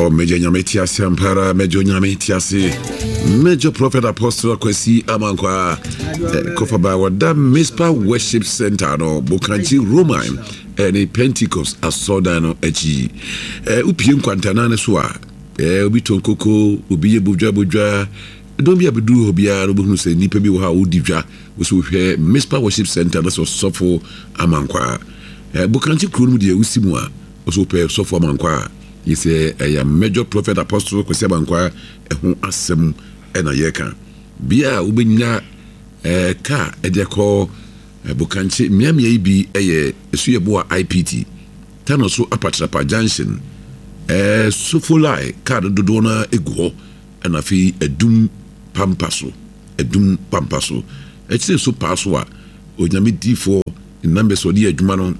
Oh, Major Nyame te ase ampa ara, Major Nyame te ase. Major Prophet Apostle Akwasi Amankwa eh, Kofaba wɔda Mispa Worship Center no Bokankyi Roman ɛne eh, Pentecost asɔrdan no akyi. Eh, wopie nkwantanan no so a, eh, obi tɔn koko, obi yɛ bodwa bodwa. Dɔm bi a bɛduru hɔ biara no wobɛhunu sɛ nnipa bi wɔ hɔ a wodi dwa. Wo sɛ wohwɛ Mispa Worship Center na sɛ ɔsɔfo Amankwa. Eh, Bokankyi kuro no mu deɛ wosi mu a, Wo so wopɛ sɔfo Amankwaa a, gye sɛ ɛyɛ Major Prophet Apostle Kwasi Amankwaa ɛho asɛm na yɛreka. Bea a wobɛnya kaa de akɔ Bokankye mmeammea yi bi yɛ Esuyɛboa IPT, Tano so Apatrapa Junction, Sofolai kaa no dodoɔ no ara gu hɔ, ɛna afei Adum Pampa so, Adum Pampa so. Akyire so paa so a, Onyame difoɔ Ne numbers a ɔde yɛ adwuma no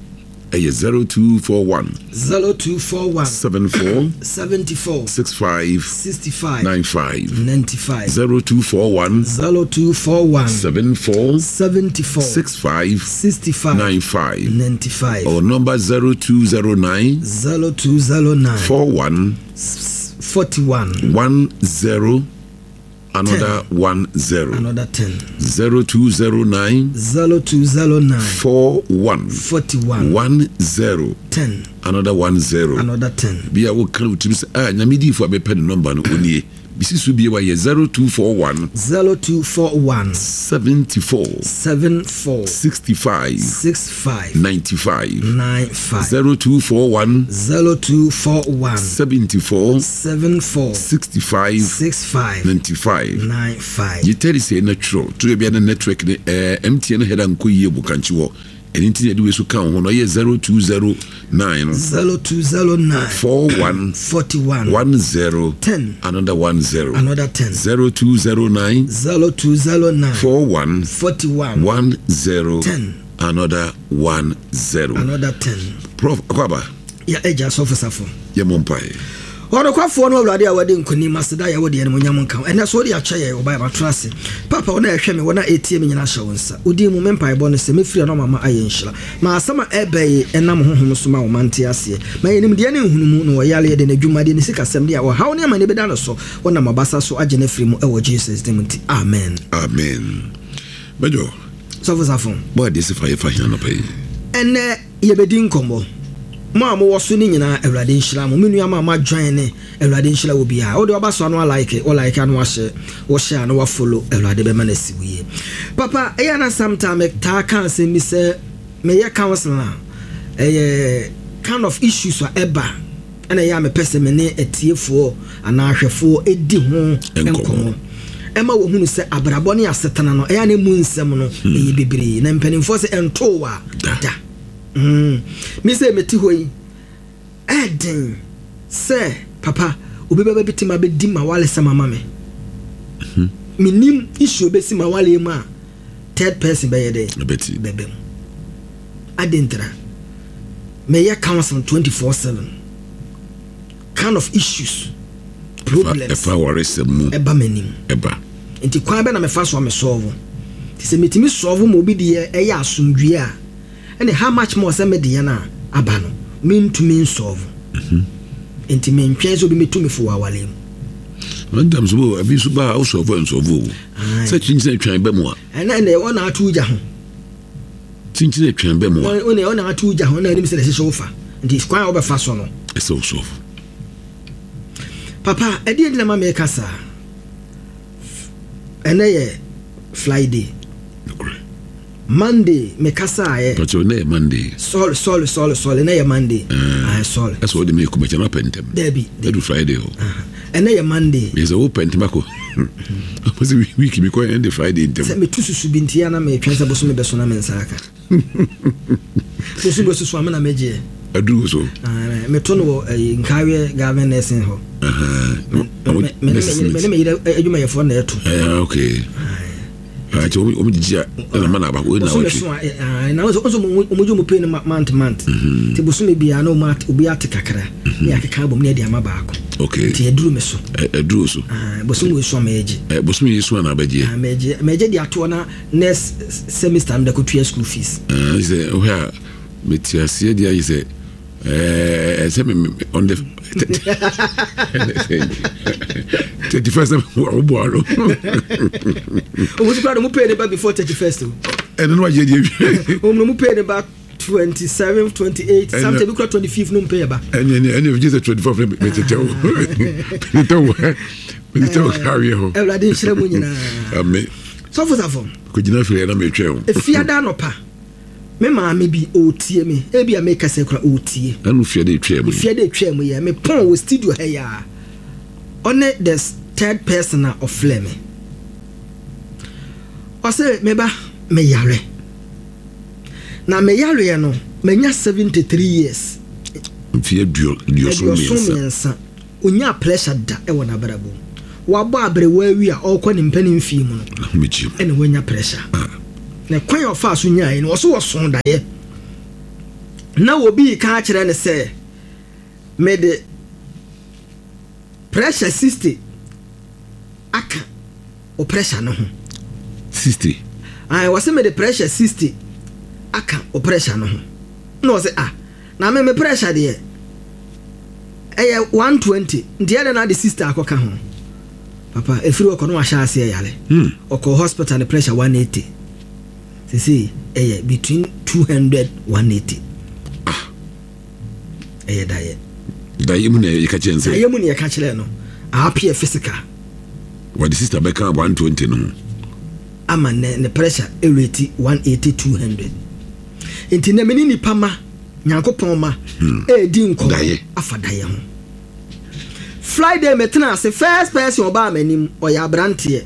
yɛ 0241. 0241. 74. 74. 65. 65. 95. 95. 0241. 0241. 74. 74. 65. 65. 95. 95. Or number 0209. 0209. 41. 41. 10. Another 10. Another 10. 0209. 0209. 41. 41. 10. 10. Another 10. Another 10. Bi a woka wo tirim sɛ ah nyame diifo a mepɛ ne nɔmba no onie. Bisi so bie wayɛ 0241. 0241. 74. 74. 65. 65. 95. 95. 0241. 0241. 74. 74. 65. 65. 95. 95. Gye tɛri sɛ na twerɛ to baabi a na network ne ɛɛ MTN header nkɔ yie wɔ kankyi hɔ ɛno nti na yɛde wei so ka wo ho no ɛyɛ 0209 no 0209. 41 41. 10 10. another 10 Another 10. 0209 0209. 41 41. 10 10. another 10 Another 10. Prof Akwaba Yɛ Agya Sɔfo Safo. Yɛmmɔ mpaeɛ. Ɔnokwafoɔ ne Awurade a wadi nkonim, aseda yɛ wo deɛ, animuonyam nka wo. Ɛnnɛ so wode akyɛ yɛn, wo ba, yɛmatena ase. Papa, wɔn a ɛhwɛ me, wɔn a ɛtie me nyinaa hyɛ wo nsa. Wo din mu, me mpaebɔ ne sɛ, mɛfiri ano ama ayɛ nhyira. Ma asɛm a ɛreba yi nam Honhom so ma wo mma nte aseɛ. Ma yɛn nimdeɛ ne nhunumu, na ɔyareɛ de, n'adwumadeɛ, ne sikasɛm de a ɔhaw ne amane bɛda no so, wonam w'abasa so agye no afiri mu, ɛwɔ Jesus din mu nti, amen. Amen. Major. Sɔfo Safo. Bɔ adeɛ sɛ fa yɛ fa hia anɔpa yi. Ɛnnɛ. Yɛbɛdi nkɔmmɔ. Mo a mowɔ so no nyinaa Awurade nhyira mo. Me nua mo a mo ajoin ne Awurade nhyira wo biara. Wode waba so a na wa like, wo like a na wa share, wo share a na wa follow Awurade bɛma no asi wo yie. Papa ɛyɛ a na sometime me taa ka asɛm bi sɛ meyɛ counseling a ɛyɛ kind of issues a ɛba ɛna ɛyɛ a mepɛ sɛ me ne atiefoɔ anaa ahwɛfoɔ di ho nkɔmmɔ ɛma wɔhunu sɛ abrabɔ ne asetena no ɛyɛ a na emu nsɛm no ɛyɛ bebree na mpanimfoɔ sɛ ɛntoo a da. Mm. Me sɛ mete hɔ yi ɛɛden sɛ papa obi bɛba bi te ma bɛdi ma walesɛm ama me. Menim issue bɛsi ma waleɛ mu a third person bɛyɛ dɛ bɛbɛ mu. Adɛn ntira? Meyɛ counseling 24/7. Kind of issues, problems. Ɛfa awaresɛm mu. Ɛba m'anim. Ɛba. Nti kwan bɛ na mefa so a me solve? Nti sɛ metumi solve ma obi deɛ ɛyɛ asomdwie a, ɛne how much more sɛ me deɛ no a aba no, mentumi nsolve. Nti mentwɛn sɛ obi mɛtu me fo wɔ awareɛ mu. Sometimes wo ebi nso ba a wo solve nsolve o. Sɛ kyinkyin atwan ba mu a. Ɛnna ɛnna ɛwɔ na ato gya ho. Kyinkyin atwan ba mu a. Wɔn ɛwɔ na ato gya ho na anim sɛ na ɛsɛ sɛ wofa. Nti kwan a wobɛfa so no. Ɛsɛ wo solve. Papa, ɛdeɛ nti na ma meka saa? Ɛnɛ yɛ Friday. Nokorɛ. Monday me kasaeɛ. Pakyɛ ɛnɛ yɛ Monday. Sorry sorry sorry sorry ɛnɛ yɛ Monday. Ɛɛ Aye sorry. Ɛsɛ wɔde me kɔ makyɛ no apɛ ntɛm. Dabi. Ɛdu Friday hɔ. Ɛnɛ yɛ Monday. Meyɛ sɛ wopɛ ntɛm akɔ. Ɔsɛ week mi kɔ ɛnde Friday ntɛm. Sɛ metu susu bi nti ana metwɛn sɛ bosome bɛso na me nsa aka. Bosu bɛsusu a me na megyeɛ. Aduru so. Meto no wɔ ɛyi Nkareɛ Government Nursing hɔ. Me ne me yere adwumayɛfoɔ na ɛto. Okay. Nti wɔn gyigyi a ɛna ma na aba wɔn na wɔtwe. Bosome so a na wɔn nso wɔn gye wɔn pay no month month. Nti bosome biara na wɔn obi ate kakra ne akeka abom ne ɛde ama baako. Okay. Nti aduru me so. Aduru so. Bosome yi so a mɛgye. Bosome yi so a na abɛgye. Mɛgye mɛgye de atoɔ na next semester no de akɔtua school fees. Sɛ wohwɛ a mete aseɛ deɛ ayɛ sɛ. Ɛɛ sɛ me on the 31st wo ano. Ɔmo kura de mo pay ne ba before 31st o. Ɛno no agye deɛ. Ɔmo no mo pay ne ba 27, 28, something bi kura 25 no mo pay ba. Ɛne ɛne ɛne gye sɛ 24 fɛ me tetɛ wo. Tetɛ wo. Me tetɛ wo kawie hɔ. Awurade nhyira mu nyinaa. Amen. Sɔfo safo. Kɔgyina firi ɛna metwɛn wo. Efiada anɔpa. Me maame bi, ɔretie me. Ebia mekasa yi koraa, ɔretie. Ɛno fie de etwaa mu yi. Fie de etwaa mu yi. Mepɔn wɔ studio ha yi ara. Ɔne the third person a ɔfrɛ me. Ɔse, me ba, meyare. Na me yareɛ no, manya 73 years. Mfeɛ aduoson mmiɛnsa. Ɔnyaa pressure da wɔ n'abrabɔ mu. Wabɔ aberewa awie a ɔrekɔ ne mpanin mfeɛ mu no, ɛna wanya pressure. Na kwan a ɔfaa so nyaeɛ no, ɔso ɔsoo daeɛ. Na obi reka akyerɛ no sɛ, mede pressure 60 aka wo pressure no ho. 60? Ae, ɔse mede pressure 60 aka wo pressure no ho. Na ɔse ah, Na me me pressure deɛ ɛyɛ 120 nti ɛdɛn na ade sister akɔka ho papa ɛfiri ɔkɔ no wahyɛ aseɛ yare hmm. Ɔkɔ hospital ne pressure 180 sesei ɛyɛ between 200 180. Ah. Ɛyɛ dayɛ dayɛ mu na yɛka kyerɛ sɛ dayɛ mu na yɛka kyerɛ no appear physical. Wɔde sister bɛka 120 no ho ama ne ne pressure ɛreti 180 200. Nti nɛ me ne nipa ma, Nyankopɔn ma, ɛɛdi nkɔmɔ afa dayɛ ho. Friday me tena ase, first person ɔbaa m'anim, ɔyɛ abranteɛ,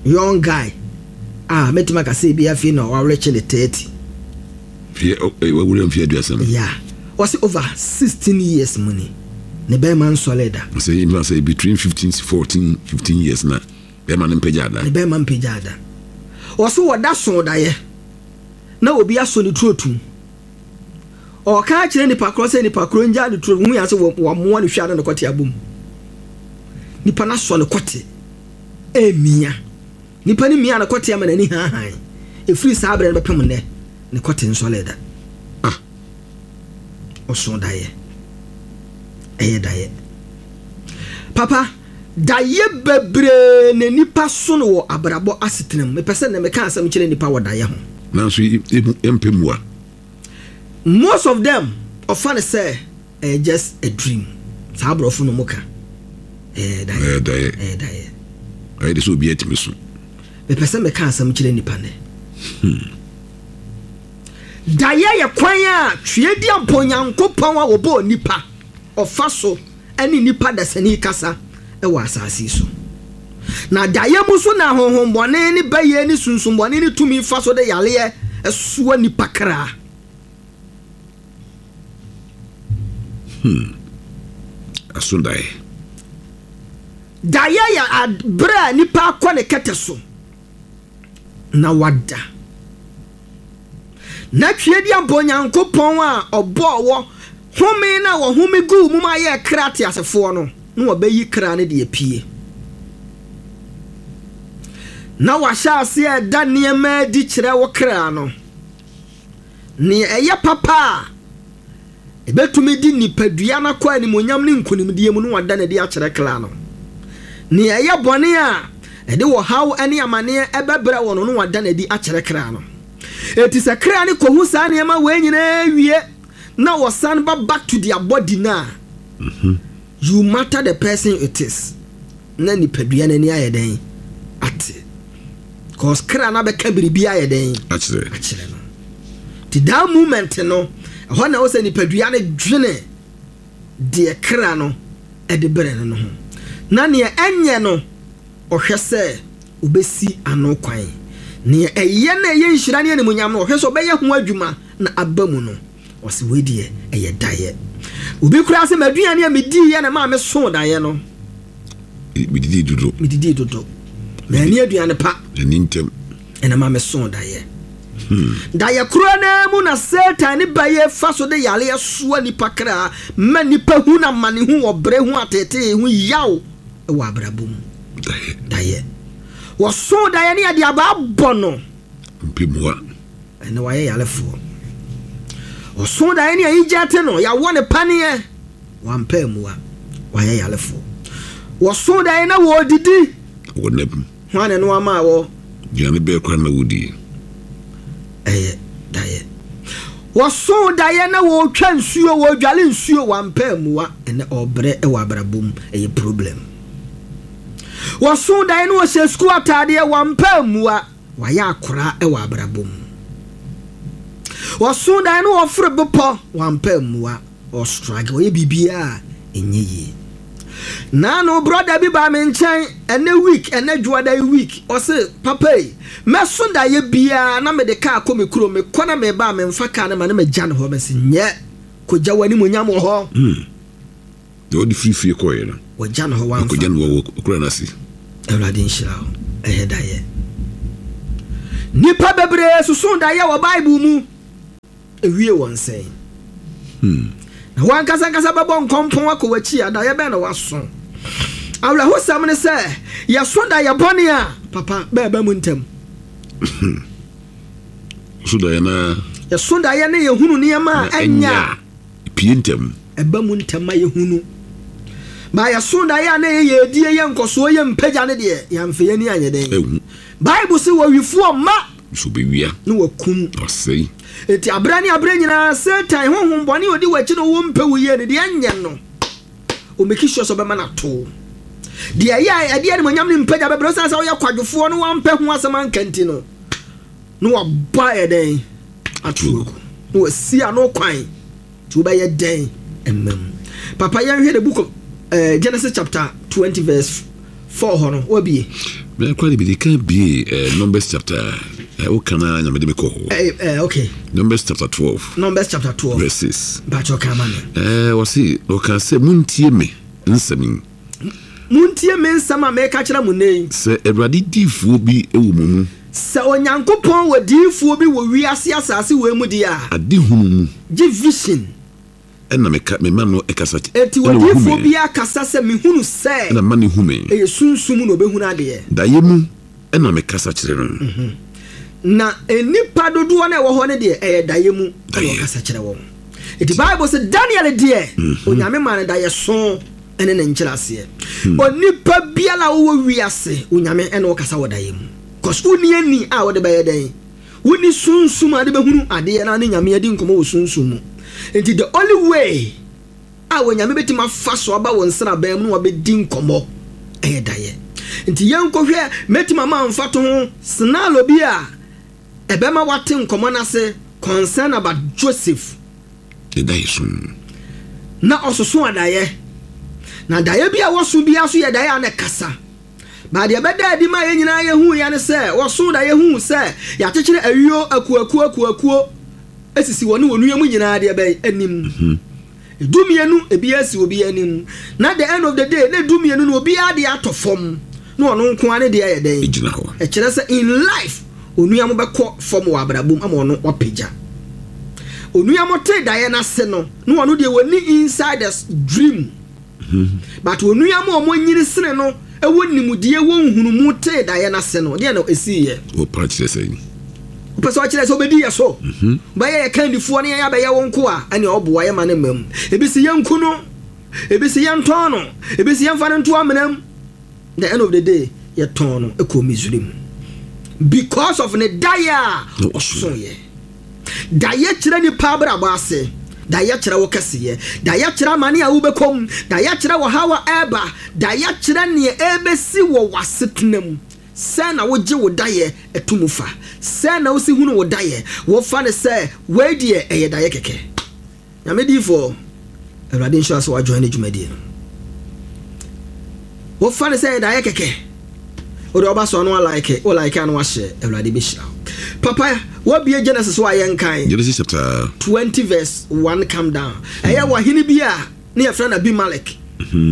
young guy, a mɛtumi aka sɛ ebi afei na warekye ne 30. Wawura mfeɛ aduasa mu. Yeah, ɔse over 16 years mu ni, ne bɛɛma nsɔre da. Ɔsɛ yɛn sɛ between 15 14 15 years na bɛɛma no mpagya da. Ne bɛɛma mpagya da. Ɔse wɔda so dayɛ. Na obi asɔ ne turo tum. Ɔreka akyerɛ nipa korɔ sɛ nipa korɔ ngyaa ne turo hu yɛn sɛ wɔamoa ne hwɛ ano ne kɔte abom. Nipa no asɔ ne kɔte ɛmia. Nipa no mia ne kɔte ama n'ani haahan. Ɛfiri saa berɛ no bɛpem nnɛ ne kɔte nsɔlee da. Ah. Ɔso daeɛ. Ɛyɛ daeɛ. Papa. Daeɛ bebree na nnipa so no wɔ abrabɔ asetena mu. Mepɛ sɛ nnɛ meka asɛm kyerɛ nnipa wɔ daeɛ ho. Nanso yɛmpɛ mua. Most of them ɔfa no sɛ ɛyɛ just a dream. Saa aborɔfo no wɔka. Ɛyɛ daeɛ. Ɛyɛ daeɛ. Ɛyɛ daeɛ. Ayɛ de sɛ obi atumi so. Mepɛ sɛ meka asɛm kyerɛ nnipa nnɛ. Daeɛ yɛ kwan a Tweaduampɔn Nyankopɔn a ɔbɔɔ nnipa ɔfa so ne nnipa dasani kasa wɔ asase yi so. Na daeɛ mu nso na ahonhommɔne ne bayie ne sunsum-bɔne ne tumi fa so de yareɛ soa nnipa kra. Hmm. Aso daeɛ. Daeɛ yɛ berɛ a nipa akɔ ne kɛtɛ so na wada. Na Tweaduampɔ Onyankopɔn a ɔbɔɔ wɔ home no a wɔhome guu mu ma yɛɛ kra teasefoɔ no, na wɔbɛyi kra no de apue. Na wahyɛ aseɛ reda nneɛma adi kyerɛ wo kra no. Nea ɛyɛ papa a ɛbɛtumi de nipadua no akɔ animuonyam ne nkonimdie mu no wada no adi akyerɛ kra no. Nea ɛyɛ bɔne a ɛde ɔhaw ne amaneɛ ɛbɛbrɛ wɔ no no wada no adi akyerɛ kra no. Enti sɛ kra no kɔhu saa nneɛma wei nyinaa wie na wɔsan ba back to their body no a, you matter the person it is. Na nipadua no ani ayɛ dɛn? Ate. Cause kra no abɛka biribi ayɛ dɛn? Akyerɛ. Akyerɛ no. Nti that moment no, ɛhɔ na ɛwɔ sɛ nipadua no dwene deɛ kra no de brɛ no no ho. Na neɛ ɛnyɛ no, ɔhwɛ sɛ ɔbɛsi ano kwan. Neɛ ɛyɛ na ɛyɛ nhyira ne animuonyam no, ɔhwɛ sɛ ɔbɛyɛ ho adwuma na aba mu no. Ɔse wei deɛ ɛyɛ daeɛ. Obi koraa se m'aduane a mediiɛ na ɛmaa mesoo daeɛ no. Medidii dodo. Medidii dodo. Manni aduane pa. Manni ntɛm. Ɛna ɛmaa mesoo daeɛ. Daeɛ korɔ no ara mu na Satan ne bayie fa so de yareɛ soa nnipa kra ma nnipa hu no amanehu, ɔbrɛ hu, ateetee ho yaw wɔ abrabɔ mu. Daeɛ. Wɔsoo daeɛ no yɛde abaa bɔ no. Mpemua. Ɛnɛ wayɛ yarefoɔ. Ɔso daeɛ ne ayigye ate no, yɛawɔ ne paneɛ, wampɛ ammua, wayɛ yarefoɔ. Wɔso daeɛ na wɔredidi. Wɔ nna mu. Hwan na ɛno ama wɔ? Aduane bɛɛ koraa na wodie. Ɛyɛ daeɛ. Wɔso daeɛ na wɔretwa nsuo, wɔredwale nsuo, wampɛ ammua, ɛnɛ ɔrebrɛ wɔ abrabɔ mu, ɛyɛ problem. Wɔso daeɛ na wɔhyɛ sukuu ataadeɛ, wampɛ ammua, wayɛ akora wɔ abrabɔ mu. Wɔso daeɛ na wɔforo bepɔ, wampɛ ammua, ɔstruggle, ɔyɛ biribiara a ɛnyɛ yie. Naano brɔda bi baa me nkyɛn ɛnɛ week, ɛnɛ dwoada yi week, ɔse papa yi, mɛso daeɛ biara na mede kaa kɔ me kurom, mekɔ na meba a memfa kaa no ma na magya no hɔ. Mese nyɛ, kɔgya w'animuonyam wɔ hɔ. Deɛ ɔde firi fie kɔeɛ no, Wɔgya no hɔ, wamfa. Ɔkɔgya no wɔ ɔkura no ase. Awurade nhyira wo. Ɛyɛ daeɛ. Nnipa bebree soso daeɛ wɔ Bible mu. Ewie wɔn sɛn? Na wɔn ankasa ankasa bɛbɔ nkɔmpɔn akɔ w'akyi a, daeɛ bɛn na waso? Awerɛhosɛm ne sɛ, yɛso daeɛ bɔne a, papa, bɛɛba mu ntɛm. So daeɛ na. Yɛso daeɛ ne yɛhunu nneɛma a ɛnyɛ a. Pie ntɛm. Ɛba mu ntɛm ma yɛhunu. Ba yɛso daeɛ a na ɛyɛ yɛdie, yɛ nkɔsoɔ, yɛ mpagya ne deɛ, yɛamfa yɛn ani anyɛ dɛn. Ɛhu. Bible se wɔwifoɔ mma. So bɛwia. Ne wɔkum. Na wɔsɛe. Enti aberɛ ne aberɛ nyinaa Satan, honhom bɔne a ɔdi w'akyi na ɔwɔ mpɛ wo yie no, deɛ ɛnyɛ no, ɔmeki sure sɛ ɔbɛma no ato wo. Deɛ ɛyɛ a ɛde animuonyam ne mpagya bɛbrɛ wo, ɛsiane sɛ woyɛ kwadwofoɔ na woampɛ ho asɛm anka nti no, na wabɔ ayɛ dɛn ato agu, na wasi ano kwan. Nti wobɛyɛ dɛn mma mu? Papa yɛnhwɛ the book of uh, Genesis chapter 20 verse 4 hɔ no, wabie. Bɛn kora de bi de kan bie eh, Numbers chapter eh, woka na nyame de me kɔ hɔ. Eh, eh, okay. Numbers chapter 12. Numbers chapter 12. Verse 6. Mpakyɛ ɔka ma me. Eh, wɔse wɔka sɛ montie me nsɛm yi. Montie me nsɛm a mereka kyerɛ mo nnɛ yi. Sɛ Awurade diyifoɔ bi wɔ mo mu. Sɛ Onyankopɔn wɔ diyifoɔ bi wɔ wiase asase wei mu deɛ a. Adehunu mu. Gye vision. Ɛna meka, mema no kasa. Enti Ɛna ɔhu odiyifoɔ me. biara kasa sɛ, Mehunu sɛ. Ɛna mema no hu me. Ɛyɛ sunsum mu na ɔbɛhunu adeɛ. Daeɛ mu na mekasa kyerɛ no. Na nnipa dodoɔ no a ɛwɔ hɔ no deɛ, ɛyɛ daeɛ mu na Daeɛ. ɔkasa kyerɛ wɔn. Enti Bible se Daniel deɛ, Onyame maa no daeɛso. ne ne nkyerɛaseɛ. Onipa biara a wowɔ wiase, Onyame ne wo kasa wɔ daeɛ mu. Cause wonni ani a wode bɛyɛ dɛn? Wonni sunsum a wode bɛhunu adeɛ na ne Nyame adi nkɔmmɔ wɔ sunsum mu. Nti the only way a Onyame bɛtumi afa so aba wo nsraban mu na wabɛdi nkɔmmɔ ɛyɛ daeɛ. Nti yɛnkɔhwɛ, mɛtumi ama wo mfatoho scenario bi a ɛbɛma woate nkɔmmɔ no ase concern about Joseph. Ne daeɛso mu. Na ɔsoso adaeɛ. Na daeɛ bi a wɔso biara nso yɛ daeɛ a na ɛkasa. But deɛ ɛbɛdaa adi maa yɛn nyinaa yɛhuiɛ ne sɛ, wɔsoo daeɛ huu sɛ yɛakyekyere ayuo akuakuo akuakuo asisi wɔne wɔn nua mu nyinaa deɛ bɛn anim. Dumienu, ebiara si obiara anim. Na the end of the day, na dumienu no obiara deɛ atɔ fam, na ɔno nko ara ne deɛ ayɛ dɛn? Egyina hɔ. Ɛkyerɛ sɛ in life, onua mo bɛkɔ fam wɔ abrabɔ mu ama ɔno wapagya. Onua mo tee daeɛ no ase no, na ɔno deɛ wɔnni inside the dream. But onua mo a wɔanyini sene no wɔ nimdeɛ wɔ nhunumu tee daeɛ no ase no, deɛ na ɛsiiɛ? Wɔpa kyerɛ sɛn? Wopɛ sɛ ɔkyerɛ sɛ wobɛdi yɛ so? Wobɛyɛ yɛ kandifoɔ ne yɛn abɛyɛ wo nkoa? Ɛnneɛ ɔboa yɛ ma no mma mu. Ebi se yɛnku no, ebi se yɛntɔn no, ebi se yɛmfa no nto amena mu. The end of the day, yɛtɔn no kɔɔ Misraim because of ne daeɛ a ɔsoeɛ. Daeɛ kyerɛ nipa abrabɔ ase. Daeɛ kyerɛ wo kɛseyɛ. Daeɛ kyerɛ amane a wobɛkɔ mu. Daeɛ kyerɛ ɔhaw a ɛreba. Daeɛ kyerɛ neɛ ɛrebɛsi wɔ w'asetena mu. Sɛn na wogye wo daeɛ to mu fa? Sɛn na wosi hunu wo daeɛ? Wofa no sɛ wei deɛ ɛyɛ daeɛ kɛkɛ? Nyame diifoɔ, Awurade nhyira wo sɛ wa join ne dwumadie no. Wofa no sɛ ɛyɛ daeɛ kɛkɛ? Wode ɔba so a na wa like, wo like a na wa share, Awurade bɛhyira wo. Papa, wabie Genesis hɔ a yɛnkan. Genesis chapter. 20 verse 1 come down. Ɛyɛ wɔ hene bi a ne yɛfrɛ no Abimelek.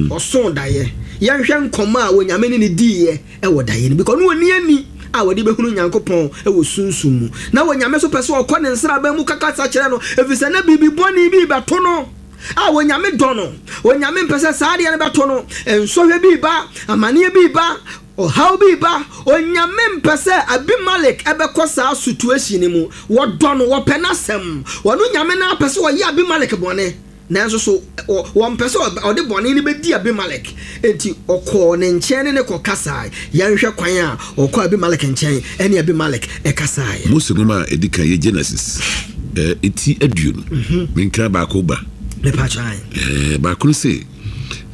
Ɔsoo daeɛ. Yɛnhwɛ nkɔmmɔ a Onyame ne no diiɛ wɔ daeɛ no mu. Because na ɔnni ani a ɔde bɛhunu Nyankopɔn wɔ sunsum mu. Na Onyame nso pɛ sɛ ɔkɔ ne nsraban mu kasa kyerɛ no, ɛfiri sɛ na biribi bɔne bi rebɛto no a Onyame dɔ no. Onyame mpɛ sɛ saa adeɛ no bɛto no. Nsɔhwɛ bi reba, amaneɛ bi reba. Ɔhaw bi ba, Onyame mpɛ sɛ Abimelek bɛkɔ saa situation no mu. Wɔdɔ no, wɔpɛ n'asɛm. Ɔno Nyame no ara pɛ sɛ ɔyɛ Abimelek bɔne, nanso so wɔmpɛ sɛ ɔde bɔne no bɛdi Abimelek. Enti ɔkɔɔ ne nkyɛn ne no kɔkasae. Yɛnhwɛ kwan a ɔkɔɔ Abimelek nkyɛn ne Abimelek kasaeɛ. Mose nwoma a ɛdi kan yɛ Genesis ti 20. Menka baako ba. Mepa kyɛw. Baako no se,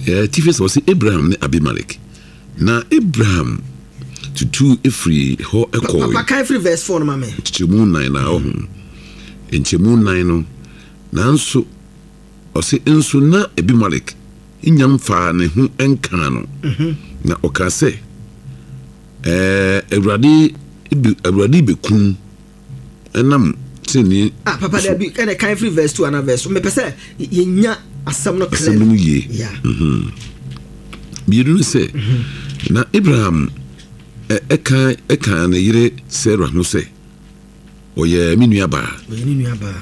tifi sɛ ɔse Abraham ne Abimelek. Na Abraham tutuu firii hɔ kɔɔe. Papa kan firi verse 4 no ma me. Nkyɛmu nan na ɔho. Nkyɛmu nan no, nanso ɔse nso na Abimelek nnya mfaa ne ho nkaa no, na ɔkaa sɛ, Ɛɛ, Awurade, Awurade bɛkum ɛnam tenenee Ah, papa so. Dabi, ɛna kan firi verse 2 ana verse, mepɛ sɛ yɛnya asɛm no clear. Asɛm no mu yie. Yeah. Mmienu no sɛ, na Abraham ɛka ɛka ne yere Sarah ho sɛ, ɔyɛ me nuabaa. Ɔyɛ ne nuabaa.